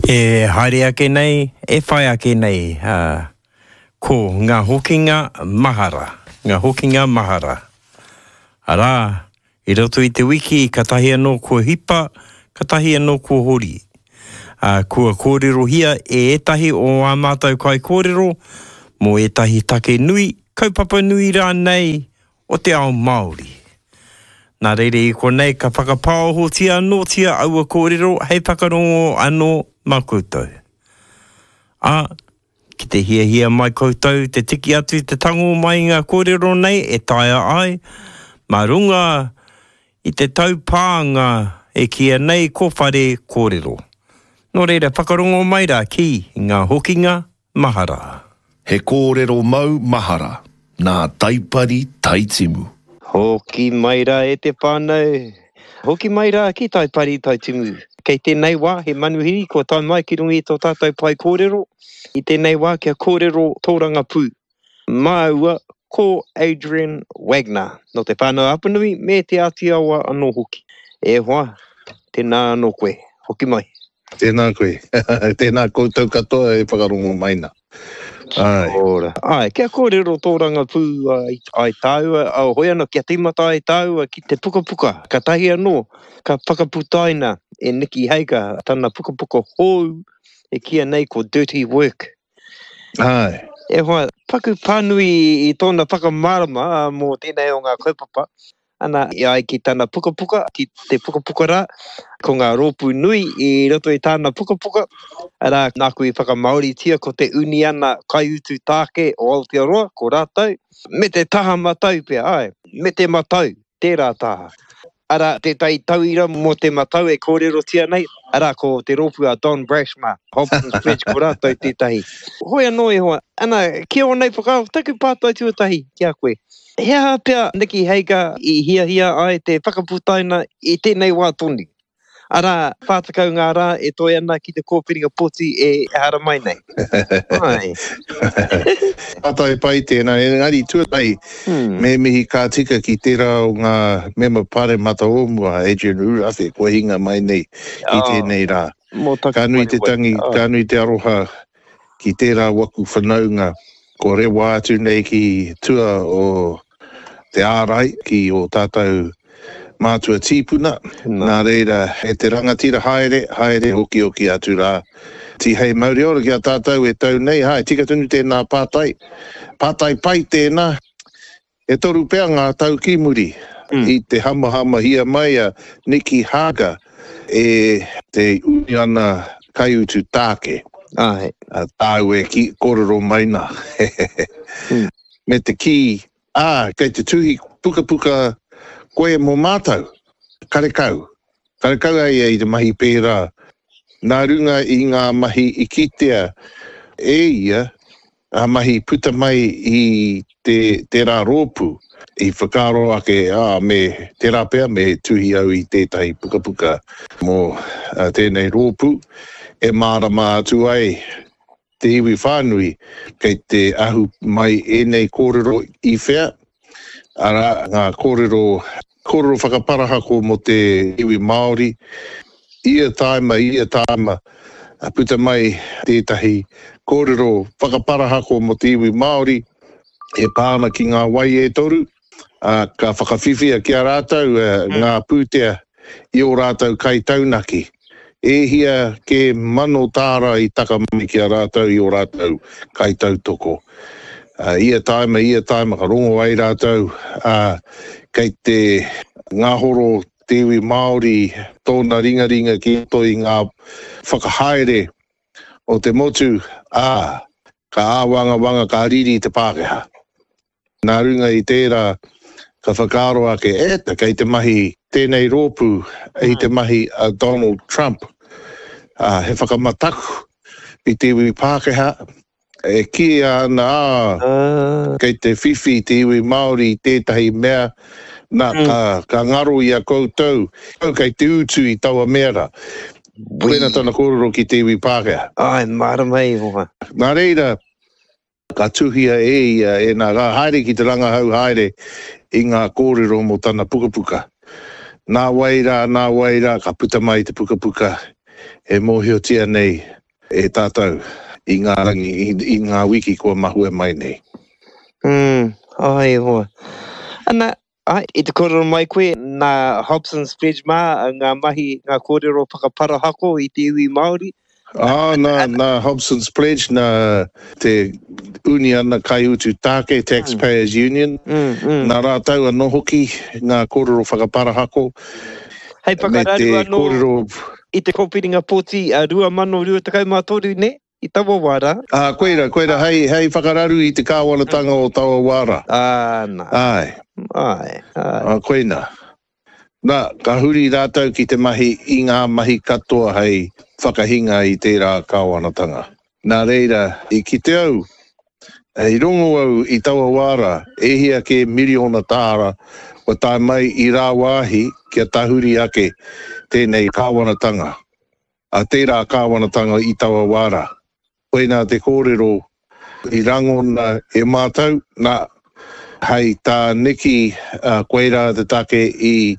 E haere ake nei, e whai ake nei, ā, ko ngā hokinga mahara, ngā hokinga mahara. Arā, i roto i te wiki katahi anō kua hipa, katahi anō kua hori. Ā, kua kōrerohia e ētahi o ā mātou kaikōrero mō ētahi take nui, kaupapa nui rānei o te ao Māori. Nā reira i konei ka whakapāohotia anōtia aua kōrero hei whakarongo anō mā koutou. Ā, ki te hiahia mai koutou te tiki atu te tango mai i ngā kōrero nei e taea ai, mā runga i te taupānga e kīia nei ko Whare Kōrero. Nō reira whakarongo mai rā ki ngā hokinga mahara. He kōrero mau mahara nā Taipari Taitimu. Hoki mai rā e te whānau, hoki mai rā ki Taipari Taitimu. Kei tēnei wā he manuhiri kua tae mai ki runga i tō tātou pae kōrero, i tēnei wā kia kōrero tōrangapū māua ko Adrian Wagner nō Te Whānau-a-Apanui me Te Āti Awa anō hoki. E hoa, tēnā anō koe, hoki mai. Tēnā koe. Tēnā koutou katoa e whakarongo mai na. Āe. Ora. Āe, kia kōrero tōrangapū ai tāua, hoi anō kia tīmata ai tāua ki te pukapuka, katahi anō ka whakaputaina e Nikki Hager tana pukapuka hou e kīia nei ko Dirty Work. Āe. E hoa, paku pānui i tōna whakamārama mō tēnei o ngā kaupapa, Ana, e ai ki tana pukapuka, ki te pukapuka rā, ko ngā rōpū nui i roto i tāna pukapuka, arā, nāku i whakamāoritia ko te Uniana Kaiutu Tāke o Aotearoa, ko rātou, me te taha matau pea, āe, me te matau, tērā taha. Arā, tētahi tauira mō te matau e kōrerotia nei, arā, ko te rōpū a Don Brash mā, Hobson's Pledge, ko rātou tētahi. Hoi anō e hoa, ana, ki ō nei whakaaro, taku pātai tuatahi ki a koe, He aha pea Nikki Hager i hiahia ai te whakaputaina i tēnei wā tonu? Arā, 40 ngā rā e toe ana ki te kōwhiringa pōti e haramai nei. Āe. Pātai pai tēnā, engari tuatahi me mihi ka tika ki tērā o ngā mema paremata o mua, Adrian Rurawhe, kua hinga mai nei i tēnei rā. Ka nui te tangi, ka nui te aroha ki tērā waku whanaunga kua rewa atu nei ki tua o te ārai, ki ō tātou mātua tīpuna. Nā reira, e te rangatira haere, haere okioki atu rā. Tihei mauri ora ki a tātou e tau nei, hae, tika tonu tēnā pātai. Pātai pai tēnā. E toru pea ngā tau ki muri i te hamahamahia mai a Nicky Hager e te Uniana Kaiutu Tāke. Āe. Tāu e kī, kōrero mai nā. Me te kī, ā, kei te tuhi pukapuka koe mō mātou. Karekau. Karekau a ia i te mahi pērā. Nā runga i ngā mahi i kitea e ia, Ngā mahi puta mai i te tērā rōpū i whakaaro ake, ā, me, tērā pea me tuhi au i tētahi pukapuka mō tēnei rōpū e mārama atu ai te iwi whānui kei te ahu mai ēnei kōrero i whea, arā, ngā kōrero Kōrero whakaparahako mō te iwi Māori, ia tāima, ia tāima, puta mai tētahi kōrero whakaparahako mō te iwi Māori e pā ana ki ngā wai e toru, ā, ka whakawhiwhia ki a rātou ngā pūtea i ō rātou kaitaunaki. E hia kē mano tāra i taka mai ki a rātou i ō rātou kaitautoko. Ia tāima, ia tāima ka rongo ai rātou, ā, kei te ngahoro te iwi Māori tōna ringaringa ki roto i ngā whakahaere o te motu, ā, ka āwangawanga, ka riri te Pākehā. Nā runga i tērā, ka whakaaro ake, e, kei te mahi tēnei rōpū i te mahi a Donald Trump, ā, he whakamataku i te iwi Pākehā, e kīia ana, ā, kei te whiwhi te iwi Māori i tētahi mea, nā, ka, ka ngaro i a koutou, kei te utu i taua mea rā. Koina tana kōrero ki te iwi Pākehā. Āe, mārama e hoa. Nā reira, Ka tuhia e ia ēnā rā haere ki te rangahau haere i ngā kōrero mō tana pukapuka. Nā wai rā, nā wai rā ka puta mai te pukapuka e mōhiotia nei. e tātou i ngā rangi, i, i ngā wiki kua mahue mai nei. Mm, ai e hoa. Ana, ai, i te kōrero mai koe, nā Hobson's Pledge mā ngā mahi, ngā kōrero whakaparahako i te iwi Māori. Ā, nā, nā Hobson's Pledge, nā te Uniana Kaiutu Tāke, Taxpayers Union, nā rātou anō hoki ngā kōrero whakaparahako, Hei me whakararu te anō kōrero. i te kōwhiringa pōti 2023, nē? I taua wā rā. Ā, koira, koira hei, hei whakararu i te kāwanatanga o taua wā rā. Ā, nā. Āe. Āe, āe. Ā, koina. Nā, ka huri rātou ki te mahi i ngā mahi katoa hei whakahinga i tērā kāwanatanga. Nā reira, i kite au, i rongo au i taua wā rā, e hia kē miriona tāra kua tae mai i rāwāhi kia tahuri ake tēnei kāwanatanga. a tērā kāwanatanga i taua wā rā. Koinā te kōrero i rangona e mātou, nā, hei tā Nikki, koirā te take i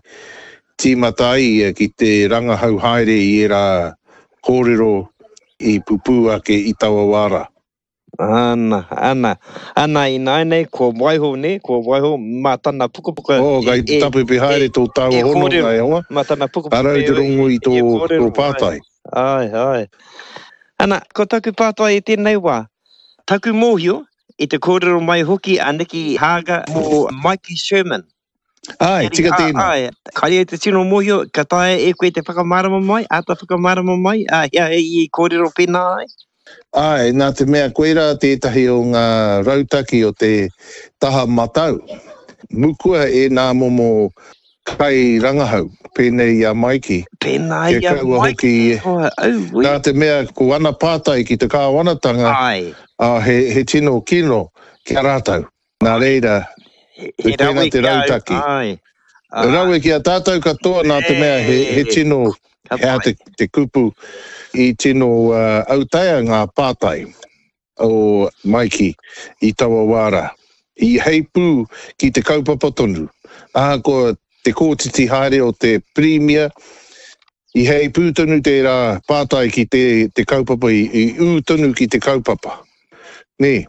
tīmata ai ia ki te rangahau haere i ērā kōrero i pupū ake i taua wā rā. Ana, ana, ana ināianei kua waiho, nē, kua waiho mā tana pukapuka Oh, kei te tapepe haere tō tāua hononga, e hoa. Mā tana pukapuka Arau te rongo i tō, tō pātai. Āe, āe. Ana, ko taku pātai i tēnei wā, taku mōhio, i te kōrero mai hoki a Nikki Haaga mō Mikey Sherman. Āe, tika tēnā. Āe, kāre au te tino mōhio, ka taea e koe te whakamārama mai, āta whakamārama mai, ā, he aha i kōrero pēnā ai? Āe, nā te mea koirā tētahi o ngā rautaki o te taha matau. Mukua ēnā momo kairangahau, pēnei i a Maiki. Pēnā i a Maiki, e hoa, auē. Nā te mea ko ana pātai ki te kāwanatanga, ā, he tino kino ki a rātou. Nā reira, he rawe te rautaki. Ai, Rawe ki a tātou katoa nā te mea he, he tino, he aha te, te kupu, i tino uh, autaia ngā pātai o Maiki i taua wā rā. I heipū ki te kaupapa tonu. Ahakoa te kōtiti haere o te Pirimia, I heipū tonu tērā pātai ki te, te kaupapa, i, i ū tonu ki te kaupapa. Nē.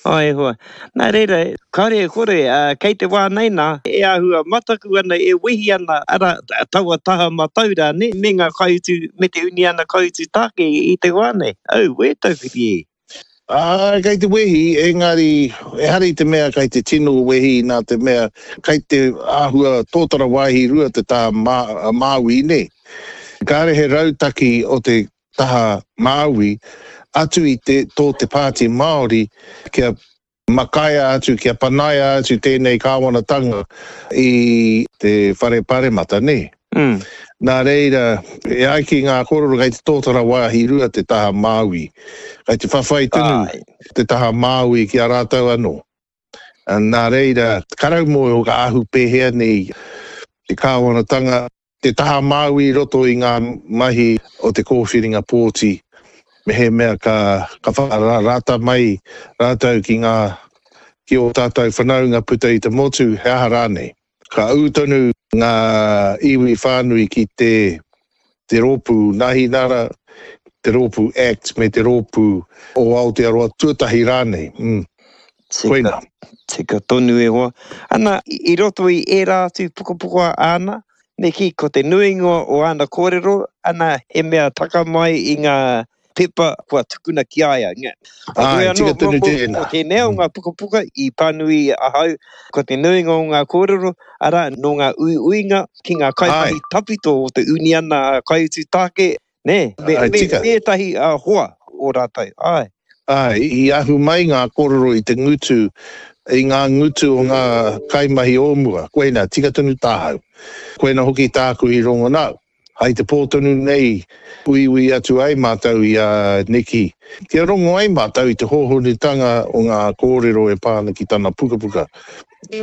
Āe e hoa. Nā reira, kāore e kore, ā, kei te wā nei nā, e āhua mataku ana, e wehi ana, arā, taua taha matau rā, nē, me ngā kaiutu, me te uniana kaiutu tāke i te wā nei. Auē, tauwhiri e. Āe, kei te wehi, engari ehara i te mea kei te tino wehi nā te mea kei te āhua tōtara wāhi rua te taha Māui, nē. Kāre he rautaki o te taha Māui atu i te tō te Pāti Māori kia Makaia atu, kia panaia atu tēnei kāwanatanga i te Whare Paremata, nē? Nā reira, e ai ki ngā kōrero kei te tōtara wāhi rua te taha Māui. Kei te whawhai tonu te taha Māui ki a rātou anō. Nā reira, karau mōhio ka ahu pēhea nei te kāwanatanga. Te taha Māui i roto i ngā mahi o te kōwhiringa pōti, mehemea ka ka whakarata mai rātou ki ngā ki ō tātou whanaunga puta i te motu, he aha rānei. Ka ū tonu ngā iwi whānui ki te te rōpū Nāhinara, te rōpū act me te rōpū o Aotearoa Tuatahi rānei. Mm. Koina. Tika tonu e hoa. Ana, i roto i ērā atu pukapuka āna, me kī, ko te nuinga o āna kōrero, ana, he mea taka mai i ngā pepa kua tukuna ki a ia. Āe, tika tonu tēnā. Ko tēnei o ngā pukapuka i pānui ahau, ko te nuinga o ngā kōrero, arā, nō ngā uiuinga ki ngā kaimahi tawhito o te uniana kaiutu tāke, Nē, me, Āe, me, tika. me ētahi uh, hoa o rātou, āe. Āe, i ahu mai ngā kōrero i te ngutu, i ngā ngutu o ngā kaimahi o mua. Koina, tika tonu tāhau. Koina hoki tāku i rongo nā, hai te pō tonu nei uiui atu ai mātou i a Nikki, kia rongo ai mātou i te hōhonutanga o ngā kōrero e pā ana ki tana pukapuka.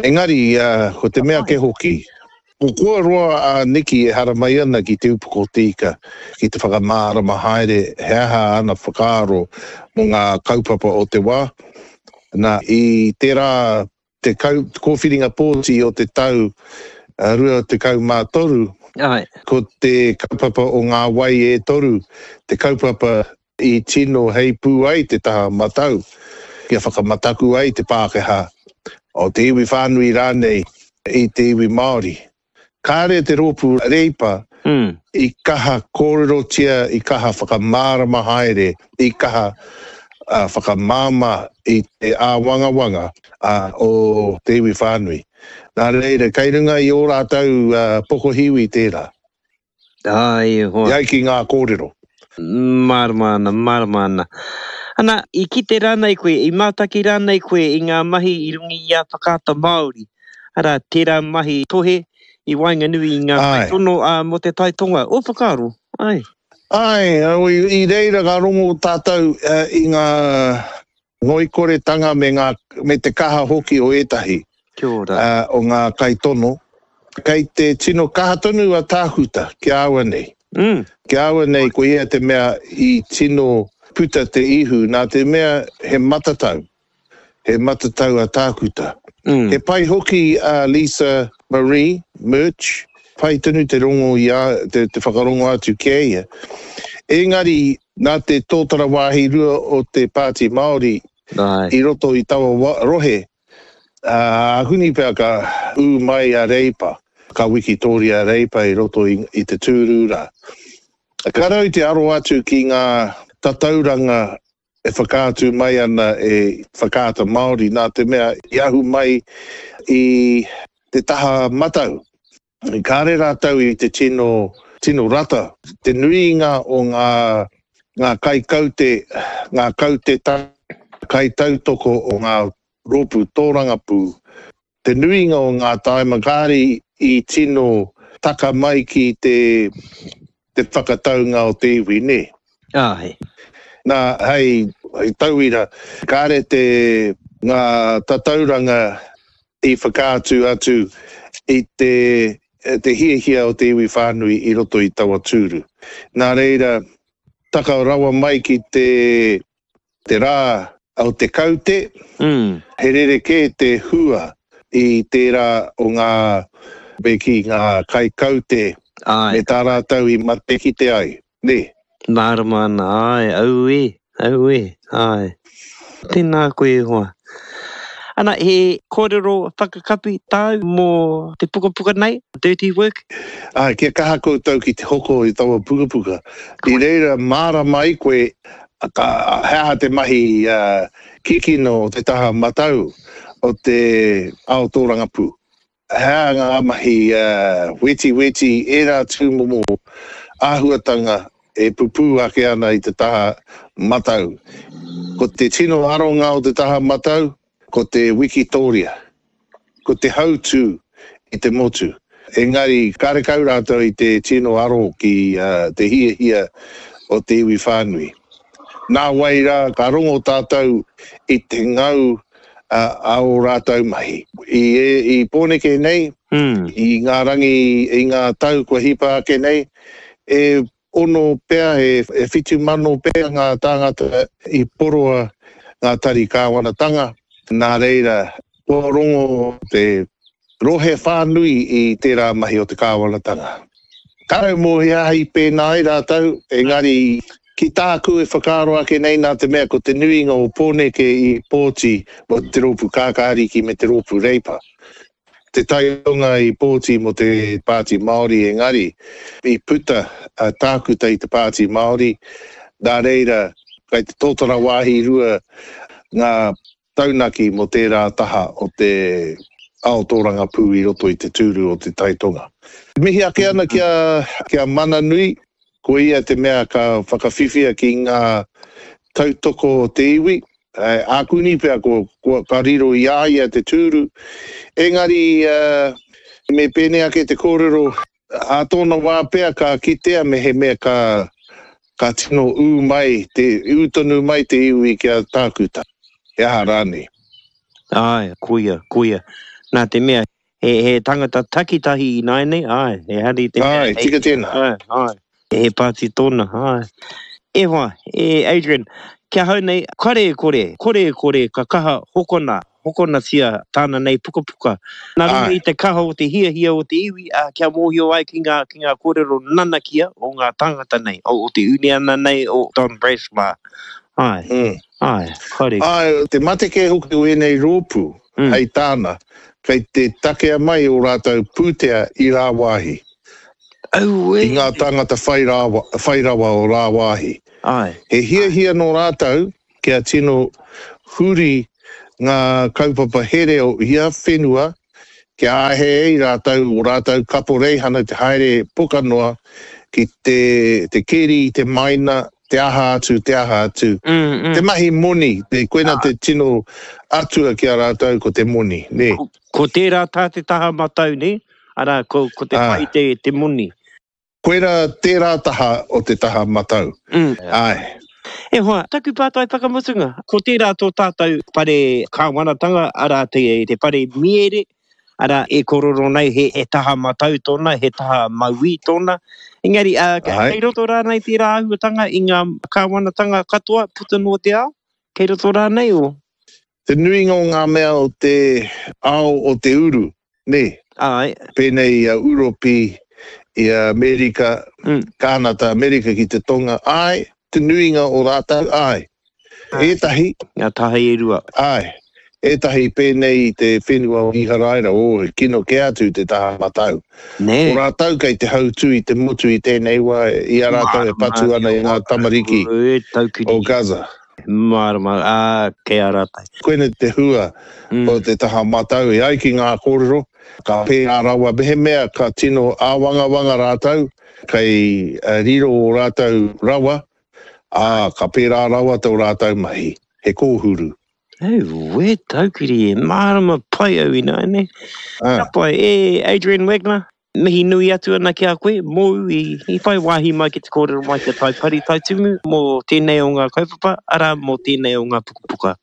Engari, ko te mea kē hoki, Ko kua roa a Nikki e haramai ana ki Te Upoko o Te Ika ki te whakamārama haere he aha ana whakaaro mō ngā kaupapa o te wā. Nā, i tērā te kōwhiringa pōti o te tau 23, ko te kaupapa o Ngā Wai e Toru te kaupapa. I tino heipū ai te taha matau kia whakamataku ai te Pākehā, o te iwi whānui rānei i te iwi Māori. Kāre te rōpū Reipa i kaha kōrerotia, i kaha whakamārama haere, i kaha whakamāmā i te āwangawanga o te iwi whānui. Nā reira, kei runga i ō rātou pokohiwi tērā. Āe, e hoa. E ai ki ngā kōrero. Mārama ana, mārama ana. Ana, i kite rānei koe, i mātaki rānei koe i ngā mahi i runga i a Whakaata Māori, arā, tērā mahi tohe i waenganui i ngā kaitono mō te Tai Tonga, ō whakaaro, āe? Āe, i reira ka rongo tātou i ngā ngoikoretanga me ngā, me te kaha hoki o ētahi Kia ora. o ngā kaitono. Kei te tino kaha tonu a Tākuta ki a au nei. Ki a au nei ko ia te mea i tino puta te ihu nā te mea he matatau, he matatau a Tākuta. He pai hoki a Lisa Marie Murch, pai tonu te rongo i a, te, te whakarongo atu ki a ia. Engari, nā te tōtara wāhi rua o te Pāti Māori i roto i taua rohe, ākuni pea ka ū mai a Reipa, ka wikitōria a Reipa i roto i te tūru rā. Ka rau te aro atu ki ngā tatauranga e whakaatu mai ana e Whakaata Māori nā te mea i ahu mai i te taha matau. Kāre rātou i te tino, tino rata. Te nuinga o ngā, ngā kaikaute, ngā kaute kaitautoko o ngā rōpū tōrangapū, te nuinga o ngā tāima kāre i tino taka mai ki te, te whakataunga o te iwi, nē? Āe. Nā, hei, hei tauira, kāre te, ngā tatauranga i whakaatu atu i te te hiahia o te iwi whānui i roto i taua tūru. Nā reira, taka rawa mai ki te te rā o te kaute, he rerekē te hua i tērā o ngā, me kī, ngā kaikaute me tā rātou i matekite ai. Nē. Mārama ana, āe, auē, auē, āe. Tēnā koe e hoa. Ana, he kōrero whakakapi tāu mō te pukapuka nei, Dirty Work? Āe, kia kaha koutou ki te hoko i taua pukapuka. I reira mārama ai koe ka, he aha te mahi kikino o te taha matau o te ao tōrangapū. He aha ngā mahi wetiweti, ērā tūmomo āhuatanga e pupū ake ana i te taha matau. Ko te tino aronga o te taha matau, ko te wikitōria, ko te hautū i te motu. Engari, karekau rātou i te tino aro ki te hiahia o te iwi whānui. Nāwai rā, ka rongo tātou i te ngau a ō rātou mahi. I, i Pōneke nei, i ngā rangi, i ngā tau kua hipa ake nei, e ono pea, e 7000 pea ngā tāngata i poroa ngā tari kāwanatanga, nā reira, kua rongo te rohe whānui i tērā mahi o te kāwanatanga. Kāre mō he aha i pēnā ai rātou, engari ki tāku e whakaaro ake nei nā te mea ko te nuinga o Pōneke i pōti mō te Rōpū Kākāriki me te Rōpū Reipa. Te taionga i pōti mō te Pāti Māori engari i puta a Tākuta i te Pāti Māori, nā reira kei te tōtara wāhi rua ngā taunaki mō tērā taha o te ao tōrangapū i roto i te tūru o Te Tai Tonga. Mihi ake ana ki a, ki a Mananui, ko ia te mea ka whakawhiwhia ki ngā tautoko o te iwi, ākuni pea ko, ko, ka riro i a ia te tūru. Engari, me pēnei ake te kōrero, Ā tōna wā pea ka kitea mehemea ka, ka tino ū mai, te, ū tonu mai te iwi ki a Tākuta, he aha rānei. Āe, koia, koia. Nā te mea, he, he tangata takitahi ināianei, āe, ehara i te mea. Āe, tika tēnā. Āe, āe. He pāti tōna, āe. E hoa, e Adrian, ki ahau nei, kare e kore, kore e kore ka kaha hokona. hokonatia tāna nei pukapuka. Nā runga i te kaha o te hiahia o te iwi, ā, kia mōhio ai ki ngā, ki ngā kōrero nanakia o ngā tāngata nei, o, o te uniana nei, o Don Brash mā. Āe, mm. āe, haere. Āe, te mate kē hoki o ēnei rōpū, mm. hei tāna, kei te takea mai ō rātou pūtea i rāwāhi. Auē! I ngā tāngata whai rawa, whai rawa o rāwāhi. Āe. He hiahia nō rātou kia tino huri ngā kaupapa here o ia whenua kia āhei ai rātou, ō rātou kaporeihana te haere poka noa ki te, te keri i te maina, te aha atu, te aha atu. Te mahi moni, te, koina te tino atua ki a rātou ko te moni, nē. Ko, ko tērā tā te taha matau, nē? Arā, ko, ko te whai te, te moni. Koira tērā taha o te taha matau. Āe. E hoa, taku pātai whakamutunga, ko tērā tō tātou whare kāwanatanga, arā, te, te whare miere, arā, e kororo nei he, he taha matau tōna, he taha mauī tōna. Engari, ā, kei roto rānei tērā āhuatanga i ngā kāwanatanga katoa puta noa te ao? Kei roto rānei o? Te nuinga o ngā mea o te ao o te uru, nē? Āe. Pēnei i a Uropi, i a Amerika, Kānata, Amerika ki te Tonga, āe, te nuinga o rātou, āe. Ētahi. Ngā taha e rua. Āe. Ētahi pēnei i te whenua o Iharaira, ō, he kino kē atu te taha matau. Nē. Ko rātou kei te hautū i te motu i tēnei wā, i a rātou e patu ana i ngā tamariki o Gaza. Mārama, ā, kei a rātou. Koinei te hua o te taha matau e ai ki ngā kōrero, ka pērā rawa mehemea ka tino āwangawanga rātou, kei riro ō rātou rawa, ā, ka pērā rawa tō rātou mahi, he kōhuru. Auē, taukiri e, mārama pai au ināianei. Ka pai, e Adrian Wagner, Mihi nui atu ana ki a koe, mōu i, i whai wāhi mai ki te kōrero mai ki a Taipari Taitumu mō tēnei o ngā kaupapa, arā, mō tēnei o ngā pukapuka.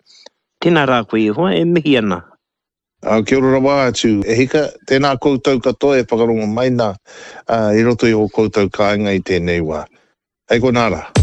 Tēnā rā koe e hoa, e mihi ana. Kia ora rawa atu e hika, tēnā koutou katoa e whakarongo mai nā i roto i ō koutou kāinga i tēnei wā. Hei konā rā.